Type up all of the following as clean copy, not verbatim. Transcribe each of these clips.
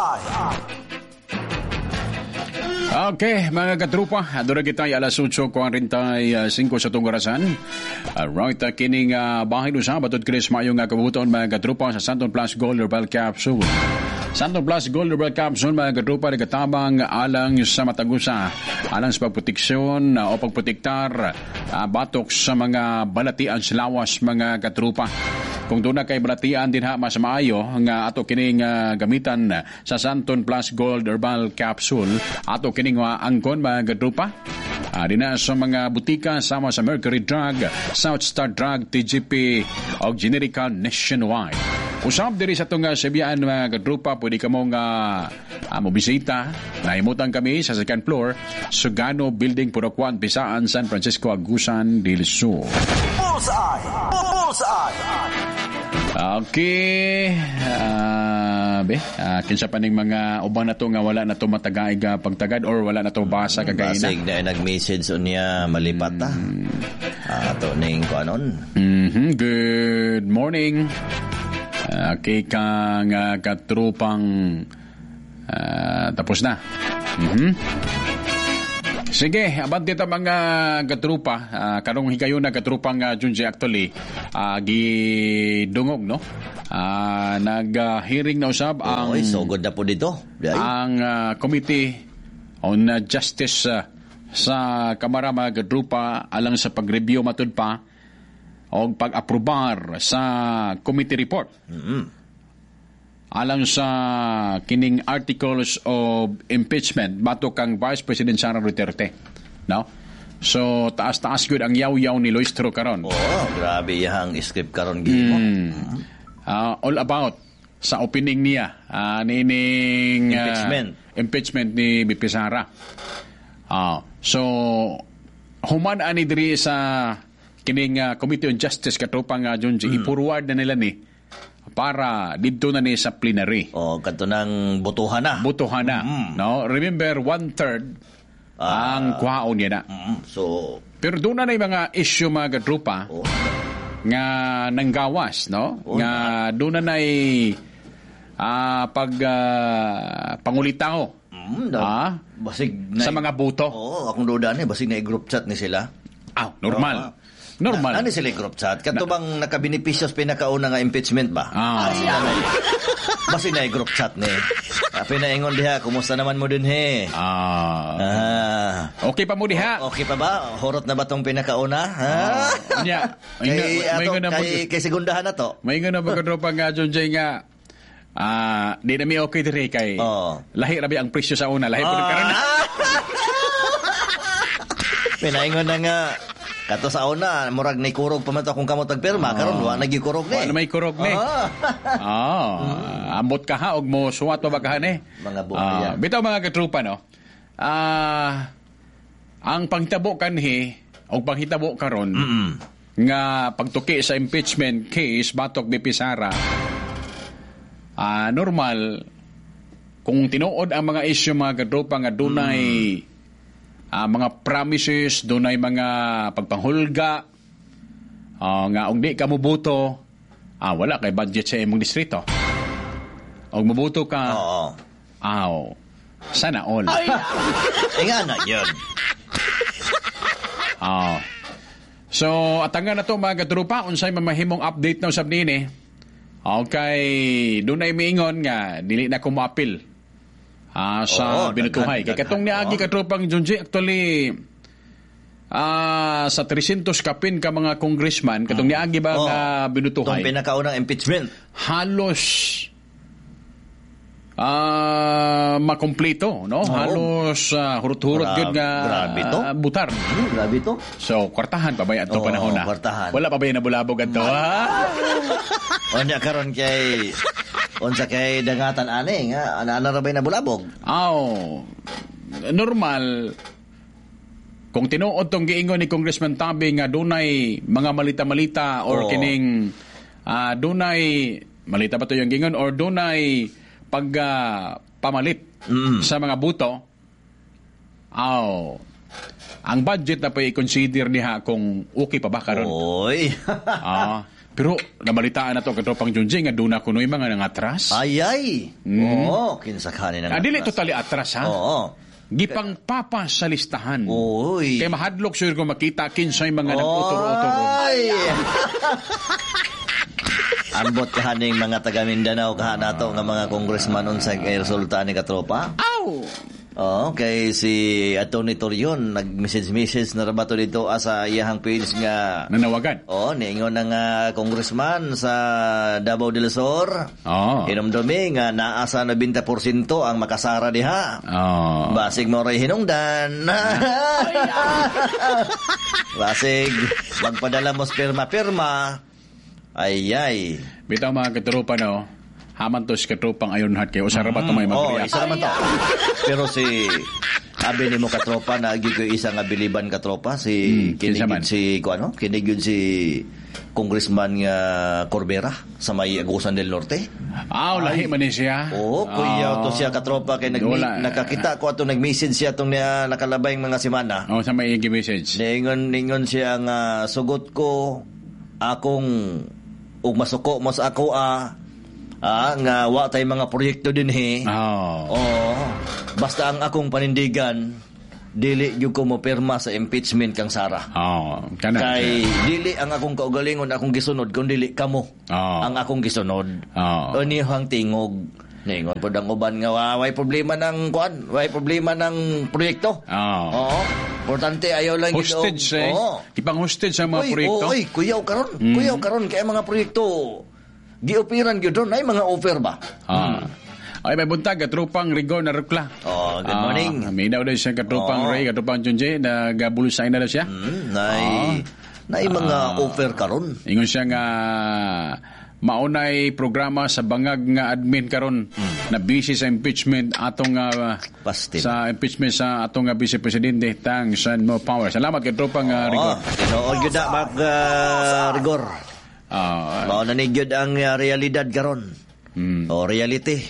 Bullseye. Okay, mga katrupa, aduna kita ay alas 8:45 sa tong orasan. Alright, kining bahin usab atud Chris maayong kabuton, mga katrupa, sa Santon Plus Gold Herbal Capsule. Santon Plus Gold Herbal Capsule, mga katrupa, nagatabang alang sa matagusa, alang sa pagproteksyon o pagprotektar batok sa mga balatian sa lawas, mga katrupa. Kung doon na kay balatian din ha, mas maayo nga ato kining gamitan sa Santon Plus Gold Herbal Capsule. Ato kining angkon, mga katrupa. Dina sa mga butika sama sa Mercury Drug, South Star Drug, TGP o Generika nationwide. Usab diri sa itong Sibian, mga katrupa, pwede ka mong mobisita. Nahimutan kami sa second floor, Sugano Building, Purok 1, Bisaan, San Francisco, Agusan del Sur. Bullseye. Bullseye. Okay. Be, kinsa pa ning mga uban na to nga wala na to matagaig pagtagad or wala na to basa kagaina. Basig na nag-message unya malipat ta. Ato ning kuanon. Good morning. Okay kang katrupang tapos na. Sige, abante ta, mga katrupa. Karong higayon na, katrupang Junji, actually gidungog, no? Nag-hearing na usab ang Oy, sugod na po dito. Di ay. Ang Committee on Justice sa Kamara, mga katrupa, alang sa pag-review matud pa o pag-aprobar sa committee report alang sa kining articles of impeachment batok kang Vice President Sara Duterte, no? So taas-taas gyud ang yaw-yaw ni Luistro karon. Oh, grabe iyang script karon gihimo. All about sa opening niya nining Impeachment. Impeachment ni VP Sara. So human ani diri sa kining Committee on Justice, katropang Junji, i-forward na nila ni para didto na ni sa plenary. Oh, kadto nang botohan na. Botohan na. No? Remember, one-third ang kuhaon niya na. So, pero doon na yung mga issue, mga katrupa, nga nanggawas, no? Nga doon na pag pangulitaw basig sa mga boto. Oo, akong duda ni basig na group chat ni sila. Ah, normal. Normal. Na, ano sila group chat? Kadto bang nakabenepisyo sa pinakauna nga impeachment ba? Basig na group chat ni. Pinaingon diha, kumusta naman mo din he? Okay pa mo diha? Okay pa ba? Horot na ba tong pinakauna? Ha? Nya, kay, ato, kay segundahan na to. May nga na ba, katropa nga John Jay, nga di na mi okay diri kay lahi ra ang presyo sa una, lahi po karon. Pinaingon na nga kato sa una, murag ni kurog pa man to akong kamot tagpirma, karon wa nagi kurog ni. Wa na may kurog ni. Ambot ka ha og mo suwat pa ba ka ni? Mga buhay. Bitaw, mga katrupa, no. Ang panghitabo kanhi og panghitabo karon nga pagtuki sa impeachment case batok VP Sara, normal kung tinuod ang mga issue, mga katropa, nga dunay mga promises, dunay mga pagpanghulga nga og di ka moboto, wala kay budget sa imong distrito. Og moboto ka, aw, sana all. Ay nga na yun. So, atangan na to, mga katrupa, unsay mamahimong update na usab niini. Okay, dunay miingon nga dili na ko moapil sa binutuhay. Kay katong niagi, katropang Junji, actually sa 300 kapin ka mga congressman katong niagi ba nga binutuhay. Itong pinakaunang impeachment. Halos makompleto, no? Halos hurot-hurot gyud nga grabe to. Butar. Grabe to. So, kwartahan pa ba ato panahon na? Kwartahan. Wala pa ba yung nabulabog adto? Ha? Unya karon kay unsa kay dangatan ani nga ana-ana ra bay nabulabog. Aw, normal kung tinuod tong giingon ni Congressman Tabi nga dunay mga malita-malita or kining dunay malita ba to yung giingon or dunay pag pamalit sa mga buto, aw, ang budget na pa i-consider niya kung okay pa ba karon. Oy. Pero nabalitaan na to, katropang Junji, nga duna kuno'y mga nangatras. Ay ay. Oo, kinsa kanin ang Ah, dili atras. Totally atras ha. Oo. Gipangpapa sa listahan. Oy. Kay mahadlok sure ko makita kinsay mga nag-utoro-utoro. Ay! Ambot kahaning mga taga Mindanao kaha nato nga mga congressman unsa kay resulta ni katropa. Aw! Oo, kay si Atty. Torion nag-message-message na ra ba to dito sa iyahang page nga. Nanawagan. Oh, niingon ng congressman sa Davao del Sur. Oo. Hinumdumi nga naa sa 90% ang makasara diha. Oo. Basig mo ray hinungdan. Basig magpadala mo sa pirma-pirma. Ay ay. Bitaw, mga katropa, no. Haman to si katropang Ironheart kay usa ra ba to may Oh, mag-react? isa naman to. Pero si abi nimo, katropa, na ko isa nga biliban, katropa, si Kinsa man? Kinig si ko ano, kinig yun si Congressman nga Corbera sa may Agusan del Norte. Aw, lahi man ni siya. Oo, kuya to siya, katropa, kay nag Wala. nakakita ko ato nag-message siya atong niya nakalabay mga semana. Oh, sa may message. Ningon ningon siya nga sugot ko akong ug masuko mo sa ako nga wa tay mga proyekto dinhi. Oh. Oo. Basta ang akong panindigan, dili gyud ko mo pirma sa impeachment kang Sara. Oh, kana. Kay dili ang akong kaugalingon akong gisunod kun dili kamo ang akong gisunod. Oh. Unihang tingog. Ningon pod ang uban nga way problema ng kuan, way problema ng proyekto. Oh. Oo. Importante ayaw lang gyud Hostage eh. Oo. Ipang hostage ang mga Uy, proyekto. Oy, kuyaw karon. Kuyaw karon kay ang mga proyekto gioperan gyud ron ay mga offer ba. Ah. Ay, may buntag, katropang Rigor na Rukla. Oh, good morning. Ah, may daw siya katropang Oo. Ray, katropang Junji, nagabulusay na daw siya. Nay mga offer karon. Ingon siya nga maunay programa sa bangag nga admin karon na busy sa impeachment atong Pastil. sa impeachment sa atong vice presidente. Thanks and more power. Salamat kay tropang Rigor. Oh, tinuod gyud na Mark Rigor. Mao na ni gyud ang realidad karon. O reality.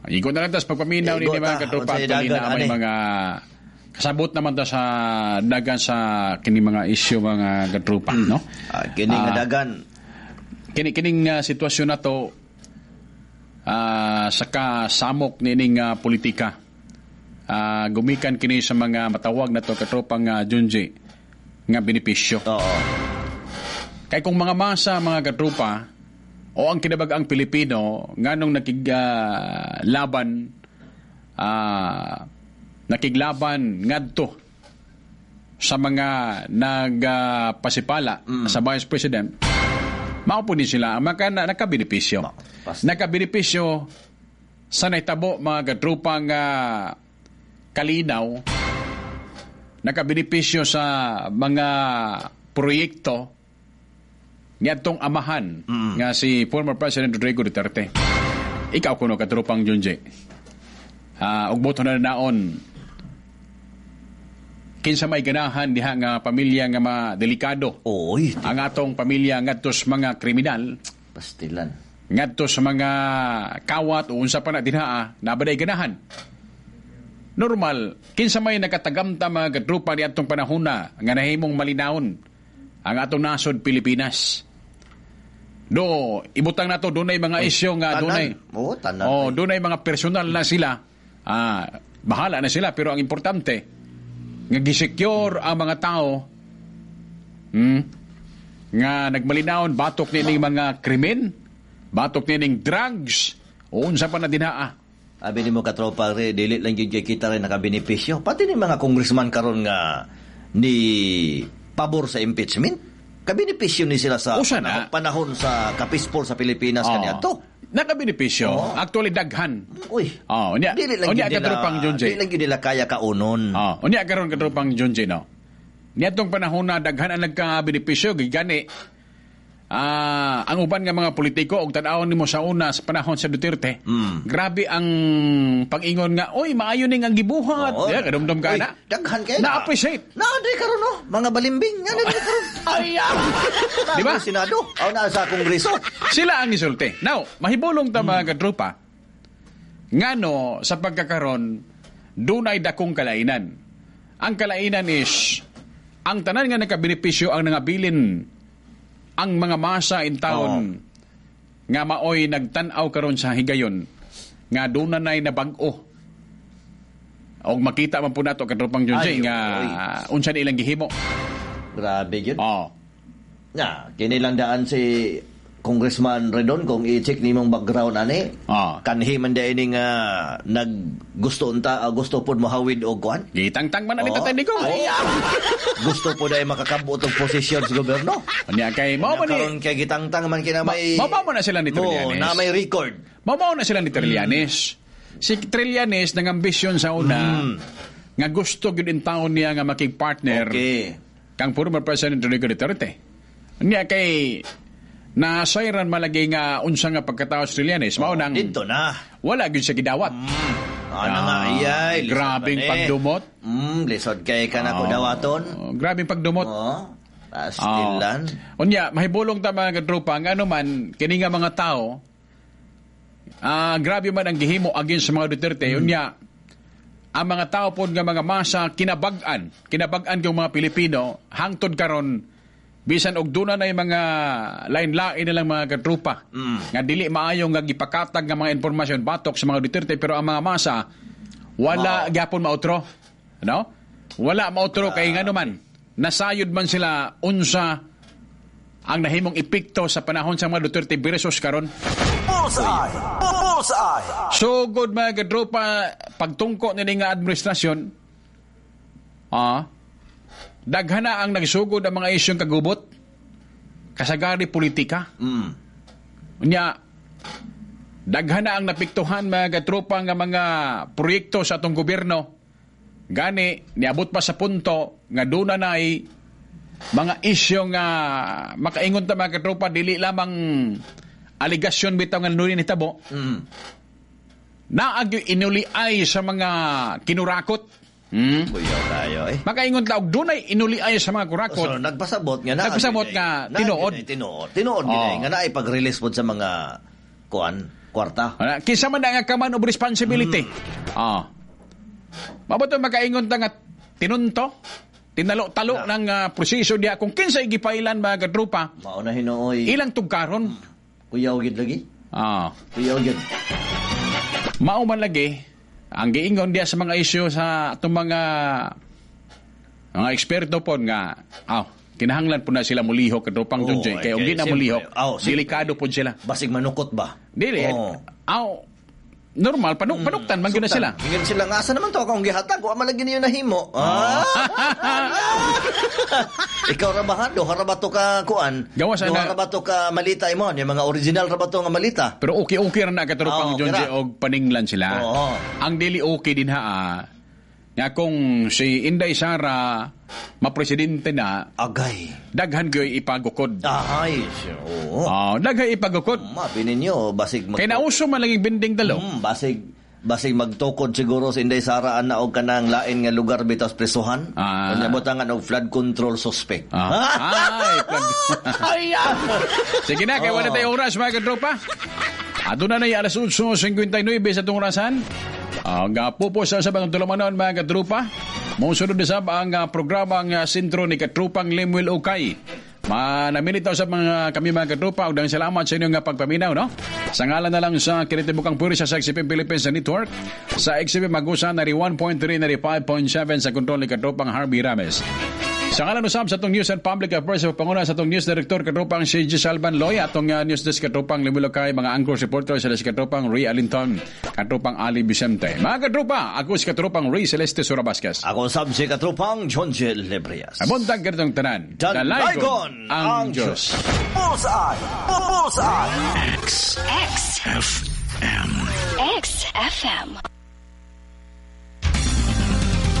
Igo na lang tas pagpaminaw ni Igo mga ta, katropa, unsay actually dagan, na may ani. mga kasabot naman ta sa dagan sa kini mga issue, mga katropa, no? Ah, kini nga dagan. Kini kining sitwasyon na to sa kasamok nining politika. Gumikan kini sa mga matawag na to, katropang Junji, nga benepisyo. Oo. Kay kung mga masa, mga katropa, o ang kinabag-ang Pilipino nganong nakiglaban nakiglaban ngadto sa mga nagpasipala sa Vice President, mao po ni sila ang maka, na, nakabenepisyo. Nakabenepisyo sa nahitabo, mga katropang kalinaw, nakabenepisyo sa mga proyekto niadtong amahan nga si former President Rodrigo Duterte. Ikaw kuno, katropang Junji. Og boto na naon kinsa may ganahan diha nga pamilya nga madelikado Oy, ang atong pamilya ngadto sa mga kriminal, pastilan. Ngadto sa mga kawat o unsa pa na dinha, nabaday ganahan? Normal, kinsa may nakatagamta, mga katropa, ni atong panahona nga nahimong malinawon ang atong nasod Pilipinas? Do ibutang nato dunay mga isyu nga Tanan. dunay. Oo, tanan. Oh, dunay mga personal na sila. Ah, bahala na sila, pero ang importante nga gisecure ang mga tao nga nagmalinawon batok nining mga krimen, batok nining drugs, o unsa pa na dinaa. Abi nimo, katropa re, dili lang gyud kay kita rin nakabenepisyo. Pati ni mga congressman karon nga ni pabor sa impeachment, kabenepisyo ni sila sa Usa na. panahon, panahon sa kapispol sa Pilipinas Oo. kaniadto. Nakabenepisyo. Oo. Actually daghan. Uy. Oh, unya. Dili lang Unya gyud nila, katropang Junji. dili lang gyud nila kaya kaunon. Oh, unya karon, katropang Junji, no. Niadtong panahon na daghan ang nagkabenepisyo gigani. Ang uban nga mga politiko og tan-awon nimo sa una sa panahon sa Duterte. Grabe ang pag-ingon nga, "Oy, maayo ning ang gibuhat." Oo. Yeah, kadumdum ka Uy, na. daghan kay na. Na-appreciate. Na di karon no, mga balimbing nga dili karon. Ay, ah. Di ba? Di ba? Senado, aw na sa Kongreso. Sila ang isulti. Now, mahibulong ta, mga katropa, ngano sa pagkakaron dunay dakong kalainan. Ang kalainan is ang tanan nga nakabenepisyo ang nangabilin Ang mga masa in town nga maoy nagtan-aw karon sa higayon nga doon na na'y nabag-o. Og makita man po nato, katropang Junjay, Ay, nga unsa ni ilang gihimo. Grabe yun. Oh. Na, kini lang daan si Congressman Ridon kung i-check nimong background ani. Kanhi man di ini nga naggusto unta gusto pod mohawid og kuan. Gitangtang man na ni Tatay Digong. Ay, gusto po dahil makakabot og posisyon sa gobyerno. Unya kay mao man ni Karon kay gitangtang man kina may Mao na sila ni Trillanes. na may record. Mao na sila ni Trillanes. Si Trillanes nangambisyon sa una nga gusto gyud in taon niya nga makig-partner kang former President Rodrigo Duterte. Niya kay nasayran malagi nga unsa nga pagkatao si Trillanes, mao nang didto na. Wala gyud siya gidawat. Ano nga iyay, lisod Grabing man eh. pagdumot. Lisod kay kanako dawaton. Oh, grabing pagdumot. Oh, pastilan. Unya, mahibulong ta, mga katropa, nga ano man kini nga mga tao, grabe man ang gihimo against sa mga Duterte. Unya, ang mga tao pod nga mga masa kinabag-an, kinabag-an yung mga Pilipino hangtod karon, bisan og duna na mga lain-lain nilang mga katropa nga dili maayo nga gipakatag nga mga impormasyon batok sa mga Duterte, pero ang mga masa wala gyapon mautro, no? Wala mautro kay ngano man nasayod man sila unsa ang nahimong epekto sa panahon sa mga Duterte versus karon. Bullseye! Bullseye! Sugod, mga katropa, pagtungko nini nga administrasyon, daghan na ang nagsugod ang mga isyong kagubot, kasagari politika. Unya, daghan na ang napiktuhan, mga katropa, nga mga proyekto sa atong gobyerno. Gani, niabot pa sa punto nga doon na na'y mga isyo nga makaingon ta, mga katropa, dili lamang aligasyon bitaw nga nuni nitabo. Naag yung inuliay sa mga kinurakot. Buyaw tayo eh. Makaingon ta og dunay inuliay sa mga kurakot. So, nagpasabot nga na. Nagpasabot nga tinuod. Tinuod. Tinuod oh. Nga naay pag-release pod sa mga kuan, kwarta. Wala. Kinsa man na nga command of responsibility. Mabuto makaingon ta nga tinunto, tinalo-talo ng proseso diya kung kinsay gipailan, mga katropa. Mao na hinuoy. Ilang tugkaron. Kuyaw gid lagi. Kuyaw gid. Mao man lagi ang giingon diya sa mga isyu sa atong mga eksperto po nga aw kinahanglan po na sila mulihok, katropang Oo, Junjay, kay ug ay, di na siyempre. mulihok, Aw, siyempre. delikado po sila. Basig manukot ba? Dili. Oo. Aw, normal panuktan man gyud na sila. Ingon sila nga asa naman to akong gihatag, wa man lagi niyo nahimo. Ah. Ikaw ra ba ha? Duha ra ba to ka kuan? Gawas Duha ana- ra ba to ka malita imo? Yung mga original ra ba to nga malita? Pero okay-okay ra na, katropang Oo, Junjay, kira. og paninglan sila. Oo. Ang dili okay din ha, nga kung si Inday Sara mapresidente na, Agay. Daghan gyoy ipagukod. Ahay, oo. Ah, daghan ipagukod. Mabi ninyo, basig Kay nauso man laging binding dalo. Basig magtukod siguro si Inday Sara ana og kanang lain nga lugar bitaw sa presuhan. Unya butangan og flood control suspect. Ay, flood. Ay, ah. Sige na, kay wala tayo oras, mga katropa. Aduna na yung alas 8:59 sa itong orasan. Ang pupo sa sabang tulumanon, mga katropa. Musunod na sab ang programa ang sentro ni Katrupang Lemuel Ukay. Manamilitaw sa mga kami, mga katropa, ug daghang salamat sa inyong pagpaminaw, no? Sa ngalan na lang sa kinitibukang puwersa sa XFM Philippines Network, sa XFM Magusa na 1.3 na 5.7 sa kontrol ni Katropang Harvey Rames. Sa ngalan usab sa atong News and Public Affairs sa panguna sa atong News Director Katropang si G. Salvan Loy, atong News Desk Katropang Limulokay, mga anchor reporter sila si Katropang Ray Alinton, Katropang Ali Vicente. Mga katropa, ako si Katropang Ray Celeste Sura Vasquez. Ako sab si Katropang John J. Lebrias. Buntag ganitong tanan. Dalaygon ang ang Diyos. Bullseye! Bullseye! X. X. F. M. X FM.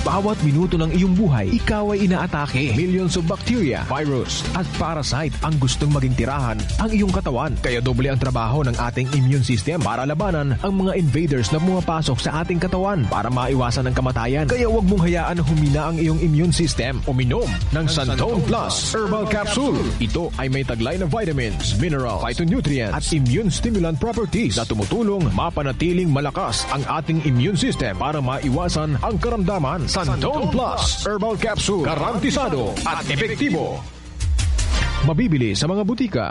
Bawat minuto ng iyong buhay, ikaw ay inaatake. Millions of bacteria, virus, at parasite ang gustong maging tirahan ang iyong katawan. Kaya doble ang trabaho ng ating immune system para labanan ang mga invaders na pumapasok sa ating katawan para maiwasan ang kamatayan. Kaya huwag mong hayaan na humina ang iyong immune system. Uminom ng Santone Plus Herbal Capsule. Ito ay may taglay na vitamins, minerals, phytonutrients, at immune stimulant properties na tumutulong mapanatiling malakas ang ating immune system para maiwasan ang karamdaman. Santone Plus Herbal Capsule. Garantisado at epektibo. Mabibili sa mga butika.